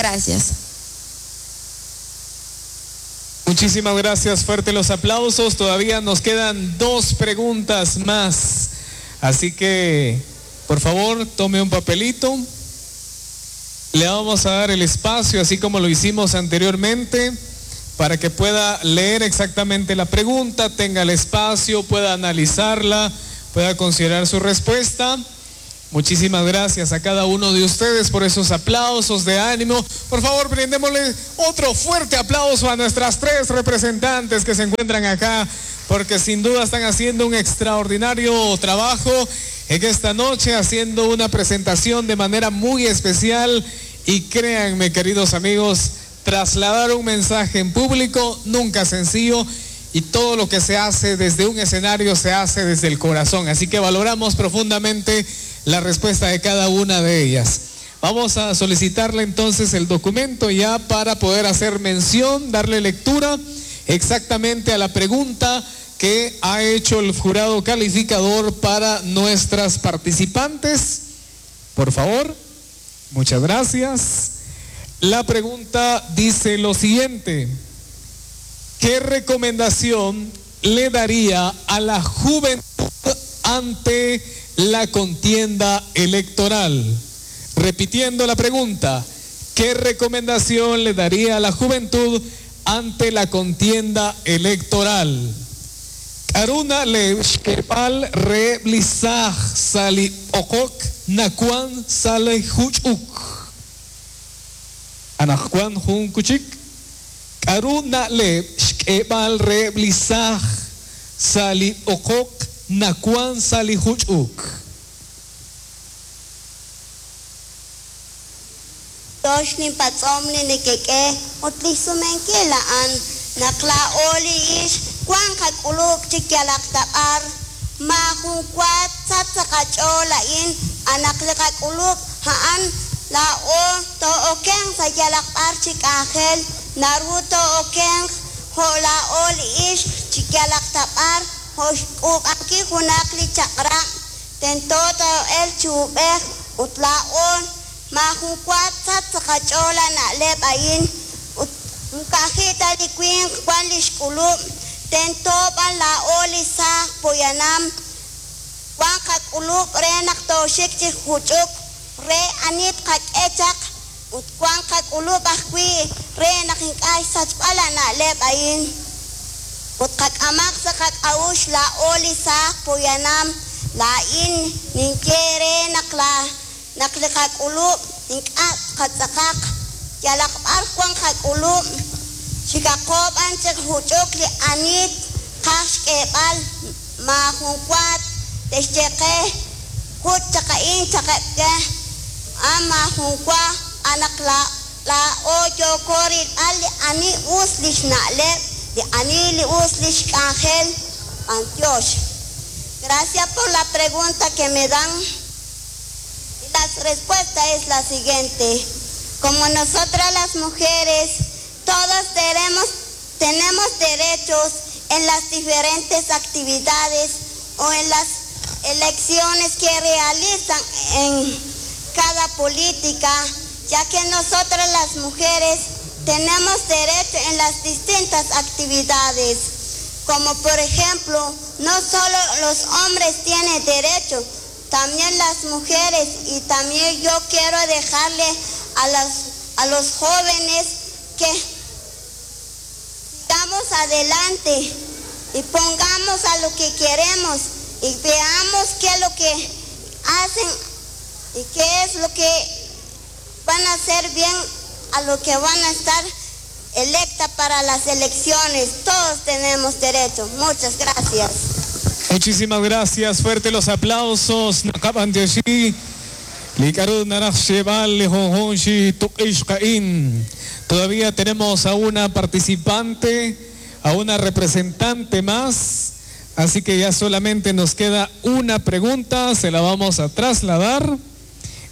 Gracias. Muchísimas gracias, fuerte los aplausos. Todavía nos quedan dos preguntas más. Así que, por favor, tome un papelito. Le vamos a dar el espacio, así como lo hicimos anteriormente, para que pueda leer exactamente la pregunta, tenga el espacio, pueda analizarla, pueda considerar su respuesta. Muchísimas gracias a cada uno de ustedes por esos aplausos de ánimo. Por favor, brindémosle otro fuerte aplauso a nuestras tres representantes que se encuentran acá, porque sin duda están haciendo un extraordinario trabajo en esta noche, haciendo una presentación de manera muy especial. Y créanme, queridos amigos, trasladar un mensaje en público nunca es sencillo. Y todo lo que se hace desde un escenario se hace desde el corazón. Así que valoramos profundamente la respuesta de cada una de ellas. Vamos a solicitarle entonces el documento ya para poder hacer mención, darle lectura exactamente a la pregunta que ha hecho el jurado calificador para nuestras participantes. Por favor, muchas gracias. La pregunta dice lo siguiente. ¿Qué recomendación le daría a la juventud ante la contienda electoral? Repitiendo la pregunta, ¿qué recomendación le daría a la juventud ante la contienda electoral? K'aru na'leb xk'eeb'al reheb' li saaj sa' li b'oqok nawan sa' li juch'uk. Anaqwan jun kuchik. K'aru na'leb' xk'eeb'al reheb' li saaj sa' li b'oqok nawan sa' li juch'uk. Tox linpatz'om li nekek'e ut li xsumenkil a'an naq laa'o li ixq wank qak'ulub' chi yalaq ta b'ar, maajun wa tsachq sa' qach'ool a'in a naq li qak'ulub' a'an laa'o too'okenq sa' yalaq b'ar chi k'anjel, naru too'okenq jo' laa'o li ixq chi yalaq ta b'ar jo' xk'uub'ankil junaq li chaq'rab', tento too'elq chi uub'ej ut laa'o maajun wa tsachq sa' qach'ool a na'leb' a'in ut moko ka'aj ta li winq wank li xk'ulub', tento b'an laa'o li saaj poyanam wank qak'ulub' re naq tooxik chi juch'uk re ani tqak'e chaq ut wank qak'ulub' ajwi' re naq ink'a' xsachb'al a na'leb' a'in ut qak'amaq sa' qak'a'uxl laa'o li saaj poyanam laa'in ninye re naq la naq li qak'ulub' ink'a' qatz'aqaq yalaq b'ar wank qak'ulub' xikaqo b'an chi juch'uk li ani qaj xk'eeb'al maajun wa te'xye qe juch' chaq a'in chaqeb' ke a maajun wa a naq laa'o yooko rilb'al li ani us li xna'leb', li ani li us li xk'anjel. B'antiox. Gracias por la pregunta que me dan. Y la respuesta es la siguiente. Como nosotras las mujeres, todas tenemos derechos en las diferentes actividades o en las elecciones que realizan en cada política, ya que nosotras las mujeres tenemos derecho en las distintas actividades, como por ejemplo, no solo los hombres tienen derecho, también las mujeres, y también yo quiero dejarle a los jóvenes que sigamos adelante y pongamos a lo que queremos y veamos qué es lo que hacen y qué es lo que van a hacer bien a lo que van a estar electa para las elecciones. Todos tenemos derecho. Muchas gracias. Muchísimas gracias. Fuerte los aplausos. Naqab'antioxi. Li k'aru naraj xyeeb'al li junjunq chi tuq'ixq a'in. Todavía tenemos a una participante, a una representante más. Así que ya solamente nos queda una pregunta. Se la vamos a trasladar.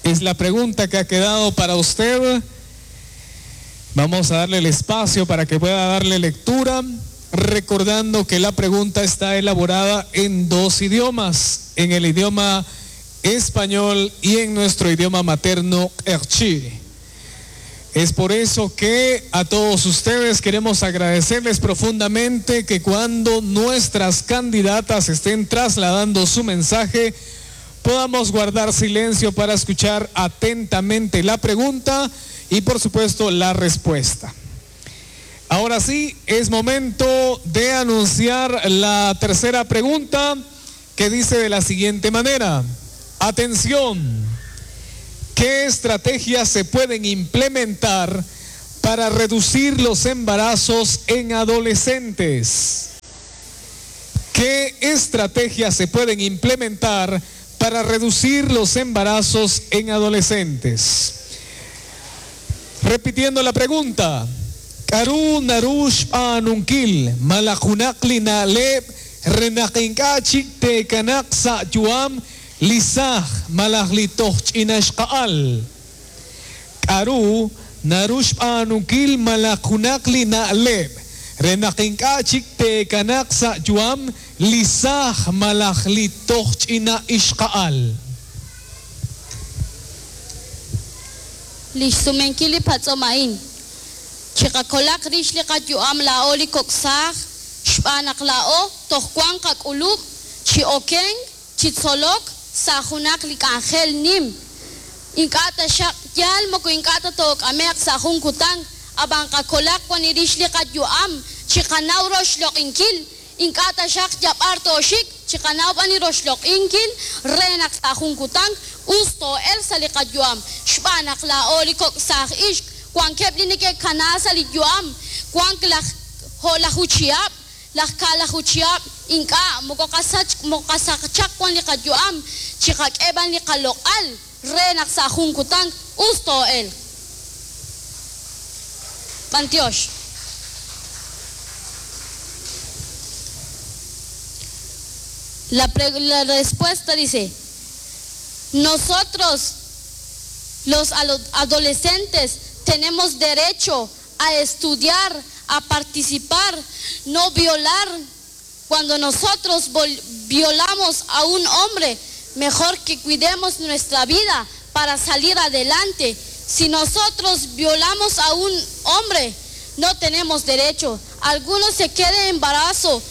Es la pregunta que ha quedado para usted. Vamos a darle el espacio para que pueda darle lectura, recordando que la pregunta está elaborada en dos idiomas, en el idioma español y en nuestro idioma materno, Q'eqchi'. Es por eso que a todos ustedes queremos agradecerles profundamente que cuando nuestras candidatas estén trasladando su mensaje, podamos guardar silencio para escuchar atentamente la pregunta y por supuesto la respuesta. Ahora sí, es momento de anunciar la tercera pregunta que dice de la siguiente manera. Atención. ¿Qué estrategias se pueden implementar para reducir los embarazos en adolescentes? ¿Qué estrategias se pueden implementar para reducir los embarazos en adolescentes? Repitiendo la pregunta. K'aru naru xb'aanunkil malaj junaq li na'leb' re naq ink'a' chik te'kanaq sa' yu'am li saaj malaj li toj ch'ina xqa'al? K'aru naru xb'aanunkil malaj junaq li na'leb' re naq ink'a' chik te'kanaq sa' yu'am li saaj malaj li toj ch'ina ixqa'al? Li xsumenkil li patz'om a'in. Chiqakolaq rix li qayu'am laa'o li kok' saaj, xb'aan naq laa'o toj wank qak'ulub' chi okenk, chi tzolok sa' junaq li k'anjel nim. Ink'a' taxaq yaal moko ink'a' ta took'ame'q sa' jun kutan, ab'an qakolaq wan rix li qayu'am, chiqanaw roxloq'inkil, ink'a' taxaq yab'ar tooxik, chiqanaw b'an li roxloq'inkil re naq sa' jun kutan us too'elq sa' li qayu'am, xb'aan naq laa'o li kok' saaj ixq wankeb' li neke'kana sa' li yu'am, wank laj jo'laju chihab', laj kaalaju chihab', ink'a' moko qasach moko qasachaq wan li qayu'am, chiqak'e b'an li qaloq'al re naq sa' jun kutan us too'elq. B'antiox. La, la respuesta dice, nosotros los adolescentes tenemos derecho a estudiar, a participar, no violar. Cuando nosotros violamos a un hombre, mejor que cuidemos nuestra vida para salir adelante. Si nosotros violamos a un hombre, no tenemos derecho. Algunos se quedan en embarazo,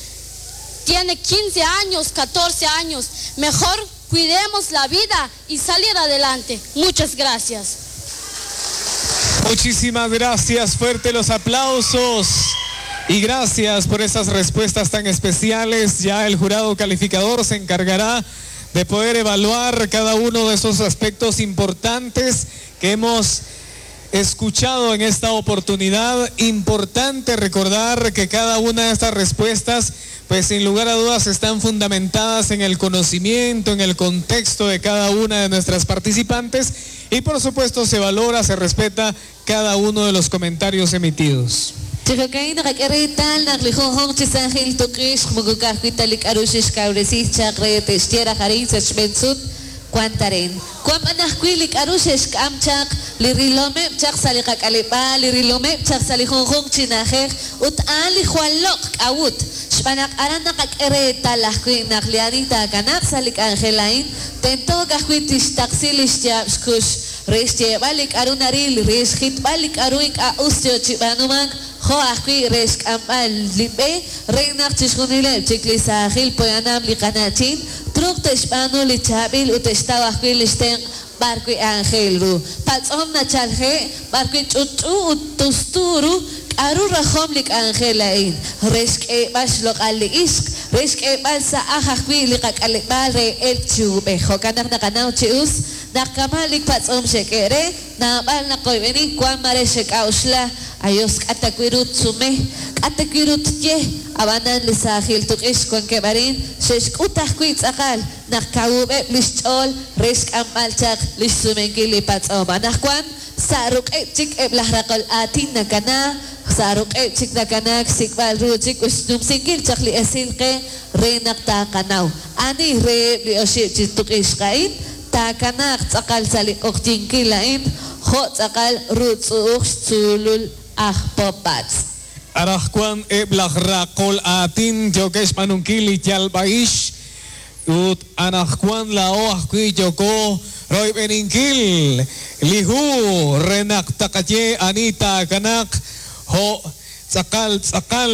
tiene 15 años, 14 años. Mejor cuidemos la vida y salir adelante. Muchas gracias. Muchísimas gracias, fuerte los aplausos. Y gracias por esas respuestas tan especiales. Ya el jurado calificador se encargará de poder evaluar cada uno de esos aspectos importantes que hemos escuchado en esta oportunidad. Importante recordar que cada una de estas respuestas, pues sin lugar a dudas, están fundamentadas en el conocimiento, en el contexto de cada una de nuestras participantes y por supuesto se valora, se respeta cada uno de los comentarios emitidos. Chijo'kain naqak'e reetal naq li junjunq chi saajil tuq'ixq moko ka'ajwi' ta li k'a'ru xe'xkawresi chaq re te'xye raj arin sa' xb'een sut wank arin. Wank b'an ajwi' li k'a'ru xe'xk'am chaq, li rilomeb' chaq sa' li qak'aleb'aal, li rilomeb' chaq sa' li junjunq chi na'ajej ut a'an li jwal loq' k'a'ut. Xb'aan naq aran naqak'e reetal ajwi' naq li ani taakanaaq sa' li k'anjel a'in tento ka'ajwi' tixtaqsi li xyaab' xkux re xyeeb'al li k'a'ru naril, re xjitb'al li k'a'ru ink'a' us yoo chi b'aanumank, jo' ajwi' re xk'amb'al li b'e re naq chixjunileb' chik li saajil poyanam li qana'chin truuq te'xb'aanu li chaab'il ut te'xtaw ajwi' li xtenq' b'arwi' aajel ru. Patz'om nachalje' b'arwi' ch'utch'u ut tustu ru k'a'ru rajom li k'anjel a'in, re xk'eeb'al xloq'al li ixq, re xk'eeb'al sa' aj ajwi' li qak'aleb'aal re elk chi uub'ej. Jo'kan naq naqanaw chi us naq kama' li patz'om xek'e re, naab'al naqoyb'eni wank mare xek'a'uxla, ayos k'a' ta wi' ru tsume, k'a' ta wi' ru tye, ab'anan li saajil tuq'ixq wankeb' arin xe'xk'ut ajwi' tz'aqal naq kawub'eb' li xch'ool re xk'amb'al chaq li xsumenkil li patz'om. Anaqwan sa' ruq'eb' chik eb' laj raqol aatin nakana, sa' ruq'eb' chik nakanaak xsik'b'al ru chik ut xnumsinkil chaq li esil qe re naq taaqanaw ani reheb' li oxib' chi tuq'ixq a'in taakanaaq tz'aqal sa' li q'oqyinkil a'in jo' tz'aqal ruutz'u'uj xtzuulul aj Popatz'. Anaqwan eb' laj raqol aatin yookeb' xb'aanunkil li yalb'a'ix. Ut anaqwan laa'o ajwi' yooko royb'eninkil li hu re naq taqaye ani taakanaq jo' tz'aqal tz'aqal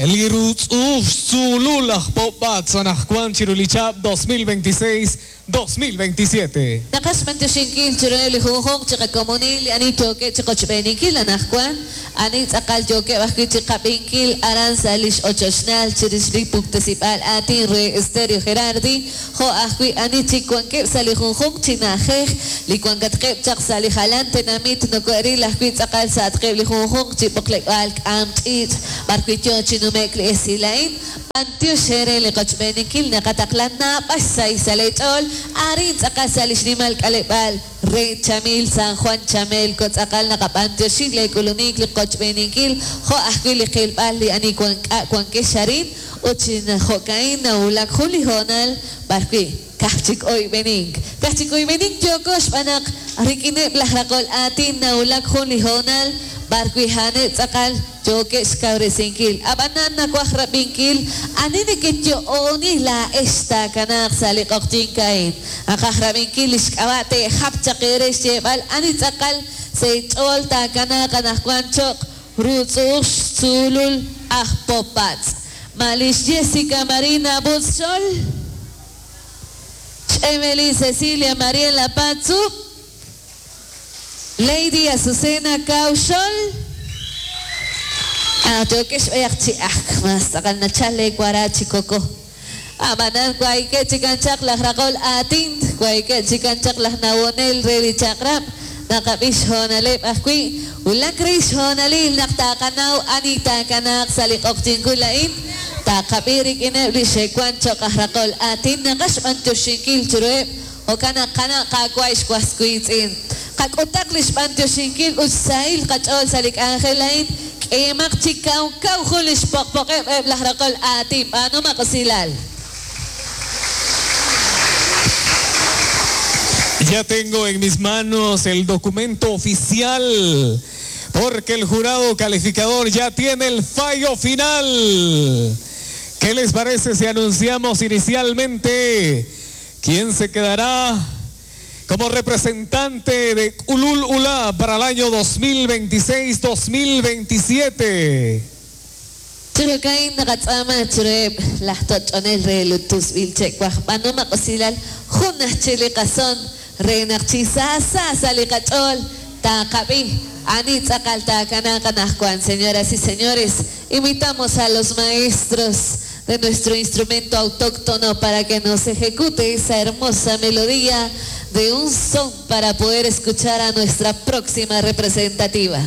li ruutz'u'uj xtzuulul aj Popb'atz anaqwan chiru li chihab' 2026 2027. Naqaj xb'antioxinkil chiruheb' li junjunq chi qakomonil li ani yookeb' chiqochb'eeninkil anaqwan, ani tz'aqal yookeb' ajwi' chiqab'inkil aran sa' lix ochochnaal chirix li puktesib'aal aatin re Estéreo Gerardi, jo' ajwi' ani chik wankeb' sa' li junjunq chi na'ajej li wankatqeb' chaq sa' li jalan tenamit noko'ril ajwi' tz'aqal sa'atqeb' li junjunq chi b'oqleb'aal k'aam ch'iich' b'arwi' yoo chi nume'k li esil a'in. B'antiox eere li qochb'eeninkil naqataqla naab'al xsahil sa' lee ch'ool arin tz'aqal sa' li xnimal k'aleb'aal re Chamil San Juan Chamelco tz'aqal naqab'antioxi lee k'ulunik li qochb'eeninkil jo' ajwi' li qilb'al li ani wan k'a' wankex arin ut chi jo'ka'in nawulak jun li hoonal b'arwi' ka'aj chik oyb'enink ka'aj chik oyb'enink yooko xb'aan naq rik'ineb' laj raqol aatin nawulak jun li hoonal b'arwi' a'aneb' tz'aqal yookeb' xkawresinkil. Ab'anan nawaj rab'inkil ani nekeyo'oni laa'ex taakanaaq sa' li q'oqyink a'in. Naqaj rab'inkil li xk'ab'a' te'jap chaq eere xyeeb'al ani tz'aqal sa' eech'ool taakanaaq anaqwan cho'q ruutz'u'uj xtzuulul aj Popb'atz'. Ma lix Jessica Marina Butzxol? X'Emely Cecilia Mariela Patzub'? Lady Azucena Cauxol? Yookex b'ayaq chi ajk mas tz'aqal nachal leewara chi koko. Ab'anan waykeb' chikan chaq laj raqol aatin, waykeb' chikan chaq laj nawonel re li chaq'rab', naqab'i xhoonaleb' ajwi', wulak re xhoonalil naq taaqanaw ani taakanaaq sa' li q'oqyinkul a'in, taqab'i rik'ineb' li xe'wan cho'q aj raqol aatin naqaj xb'antioxinkil chiruheb' jo'kan naq qana' qaawa' xwas wiitz'in. Qak'utaq li xb'antioxinkil ut xsahil qach'ool sa' li k'anjel a'in, k'eemaq chi kaw kaw jun li xpoqpoqeb' eb' laj raqol aatin b'aanumaq usilal. Ya tengo en mis manos el documento oficial, porque el jurado calificador ya tiene el fallo final. ¿Qué les parece si anunciamos inicialmente quién se quedará como representante de Ulul Ula para el año 2026-2027? Chirukain naqatz'aama chiruheb' laj toch'onel re lutusb'il che'waj b'aanumaq usilal jun ajchi li qason re naq chi saasa sa' li qach'ool taqab'i ani tz'aqal taakanaaq anaqwan. Señoras y señores, invitamos a los maestros de nuestro instrumento autóctono para que nos ejecute esa hermosa melodía de un son para poder escuchar a nuestra próxima representativa.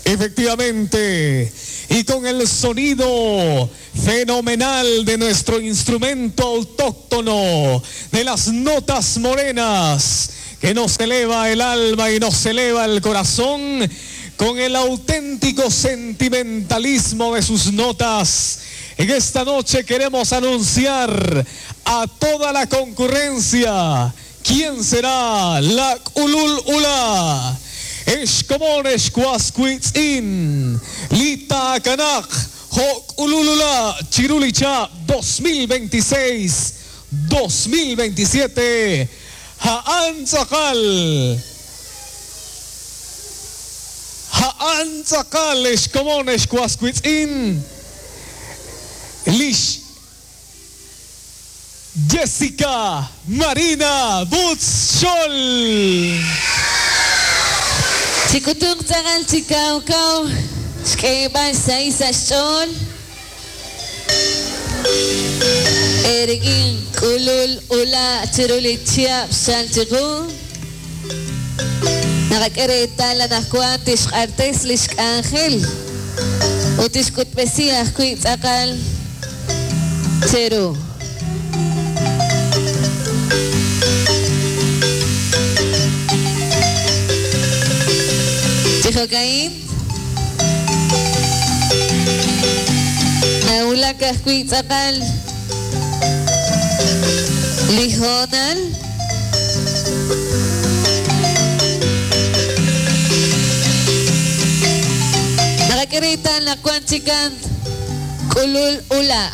Efectivamente, y con el sonido fenomenal de nuestro instrumento autóctono, de las notas morenas, que nos eleva el alma y nos eleva el corazón, con el auténtico sentimentalismo de sus notas. En esta noche queremos anunciar a toda la concurrencia quién será la Ulul Ula. Exkomon Excuascuitzin, Lita Kanak, Hok Ululula, Chirulicha 2026, 2027, Haan Tzakal. Haan Tzakal, Exkomon Excuascuitzin, Lish Jessica Marina Butschol. Chikutung tz'aqal chi kaw kaw, xk'eeb'al xsahil sa' xch'ool. Erik'in k'ulul ula chiru li chihab' xchal chiqu. Naqak'e reetal anaqwan tixq'artes li xk'anjel ut tixk'utb'esi ajwi' tz'aqal cheru. Chi jo'ka'in nawulak ajwi' tz'aqal li hoonal. Naqak'e reetal naq wan chikan k'ulul ula.